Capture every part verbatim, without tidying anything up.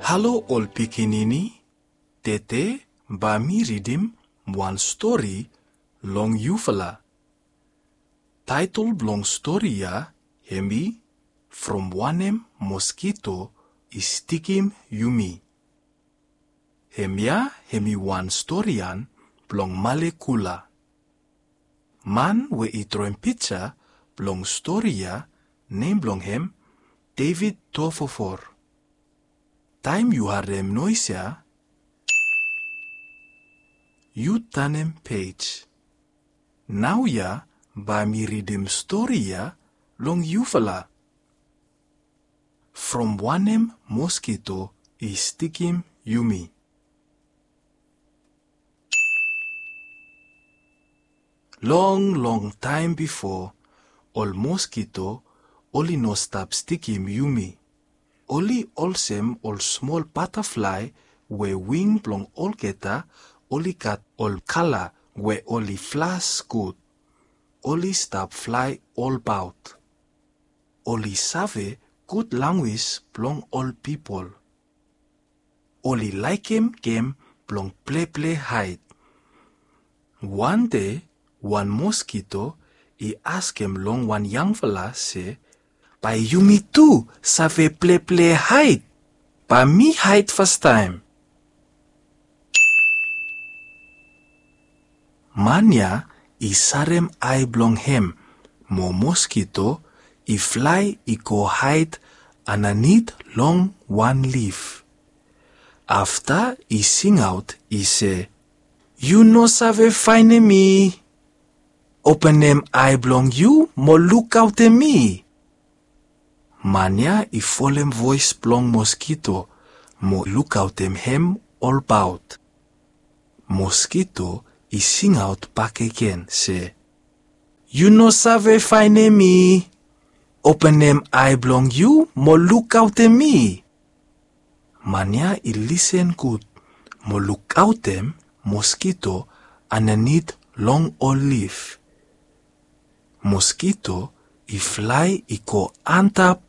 Halo ol pikinini, tede bae mi ridim wan stori long yufala. Taetol blong stori ya hemi From Wanem Moskito i Stikim Yumi. Hemia hemi wan storian blong Malekula. Man we i droem pija blong stori ya, nem blong hem David Tofofor. Taem yu harem noes ya, yu tanem pej. Naoia bae mi ridim stori ya long yufala. From Wanem Moskito i Stikim Yumi. Long long taem bifo, ol moskito oli no stap stikim yumi. Oli olsem ol smol bataflae we wing blong olgeta oli gat ol kala we oli flas gud. Oli stap flae olbaot. Oli save gud langwis blong ol pipol. Oli laekem gem blong pleple haed. Wan dei wan moskito i askem long wan yangfala se, "Bae yumi tu save pleple haed? Bae mi haed fastaem." Man ya i sarem ae blong hem mo moskito i flae i go haed andanit long wan lif. Afta i singaot i se, "Yu no save faenem mi. Openem ae blong yu mo lukaotem mi." Man ya i folem voes blong moskito mo lukaotem hem olbaot. Moskito i singaot bakegen se, "Yu no save faenem mi. Openem ae blong yu mo lukaotem mi." Man ya i lisen gud mo lukaotem moskito andanit long ol lif. Moskito i flae i go antap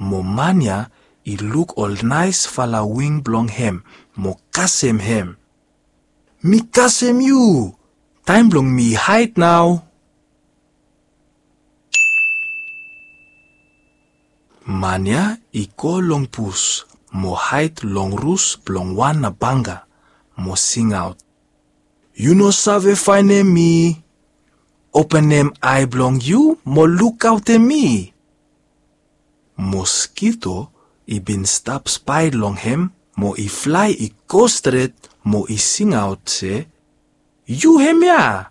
mo man ya i luk ol naesfala wing blong hem mo kasem hem. "Mi kasem yu. Taem blong mi haed nao." Man ya i go long bus mo haed long rus blong wan nabanga mo singaot, "Yu no save faenem mi. Openem ae blong yu mo lukaotem mi." Moskito i bin stap spae long hem mo i flae i go stret mo i singaot se, "Yu hemia.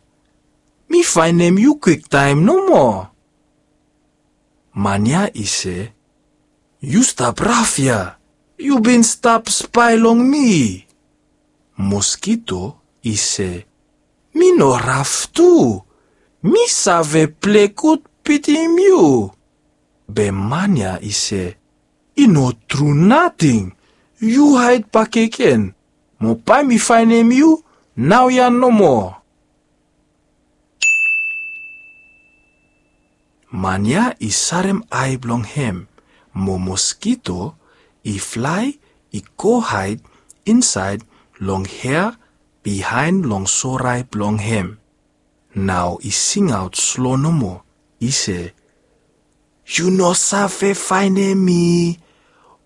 Mi faenem yu kwiktaem nomo." Man ya i se, "Yu stap raf ya. Yu bin stap spae long mi." Moskito i se, "Mi no raf tu. Mi save ple gud bitim yu." Be man ya i se, "I no tru nating. Yu haed bakegen mo bae mi faenem yu naoia nomo." Man ya i sarem ae blong hem mo moskito i flae i go haed insaed long hea bihaen long sorae blong hem. Nao i singaot slo nomo i se, "Yu no save faenem mi.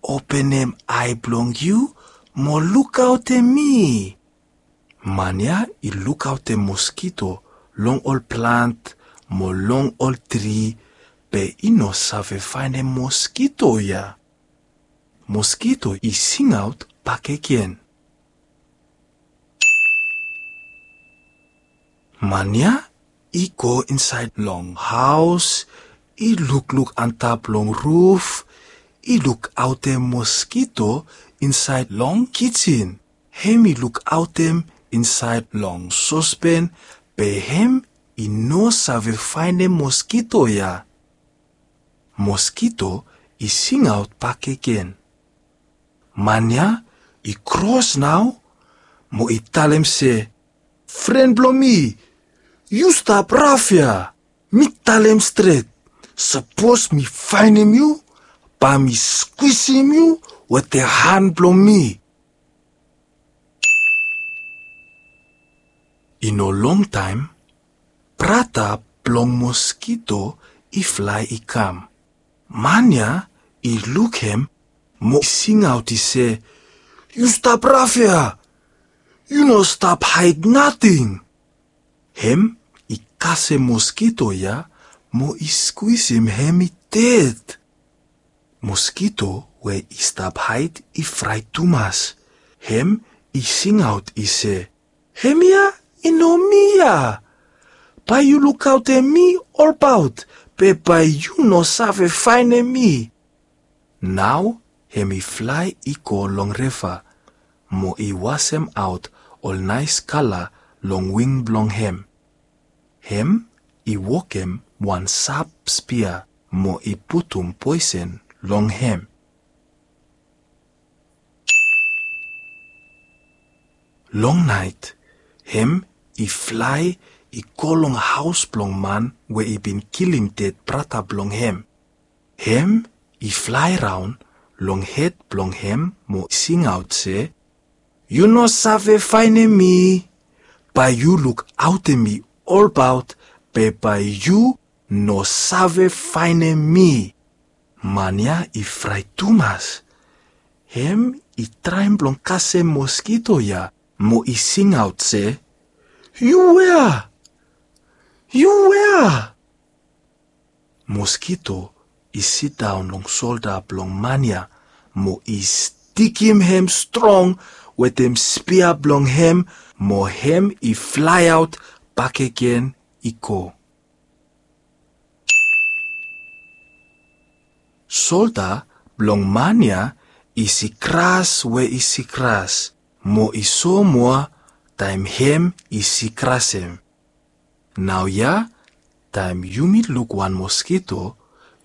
Openem ae blong yu mo lukaotem mi." Man ya i lukaotem moskito long ol plant mo long ol tri, be i no save faenem moskito ya. Moskito i singaot bakegen. Man ya i go insaed long haos, i lukluk antap long ruf, i lukaotem moskito insaed long kijin. Hem i lukaotem insaed long sospen, be hem i no save faenem moskito ya. Moskito i singaot bakegen. Man ya i kros nao mo i talem se, "Fren blong mi, yu stap raf ya. Mi talem stret, sapos mi faenem yu, bae mi skwisim yu wetem han blong mi. I no longtaem, brata blong moskito i flae i kam. Man ya i luk hem mo i singaot i se, "Yu stap raf ya! Yu no stap haed nating!" Hem i kasem moskito ya mo i skwisim hem i ded. Moskito we i stap haed i fraet tumas. Hem i singaot i se, "Hemia i no mi ya! Bae yu lukaotem mi olbaot, be bae yu no save faenem mi." Nao hem i flae i go long riva mo i wasemaot ol naes kala long wing blong hem. Hem i wokem wan sap spia mo i putum poesen long hem. Long naet hem i flae i go long haos blong man we i bin kilim ded brata blong hem. Hem i flae raon long hed blong hem mo singaot se, "Yu no save faenem mi! Bae yu lukaotem mi olbaot, be bae yu no save faenem mi!" Man ya i fraet tumas. Hem i traem blong kasem moskito ya mo i singaot se, "Yu wea? Yu wea?" Moskito i sidaon long solda blong man ya mo i stikim hem strong wetem spia blong hem, mo hem i flaeaot bakegen i go. Solda blong man ya i sikras we i sikras mo i somoa taem hem i sikrasem. Naoia taem yumi luk wan moskito,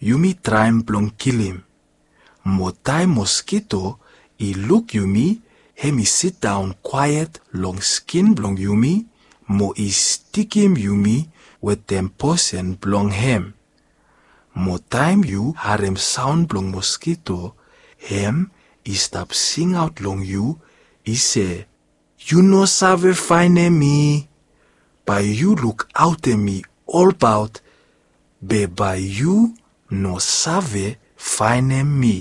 yumi traem blong kilim. Mo taem moskito i luk yumi, hem i sidaon kwaet long skin blong yumi mo i stikim yumi wetem poesen blong hem. Mo taem yu harem saon blong moskito, hem i stap singaot long yu, i se, "Yu no save faenem mi! Bae yu lukaotem mi olbaot, be bae yu no save faenem mi."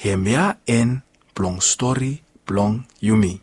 Hemia en blong stori blong yumi.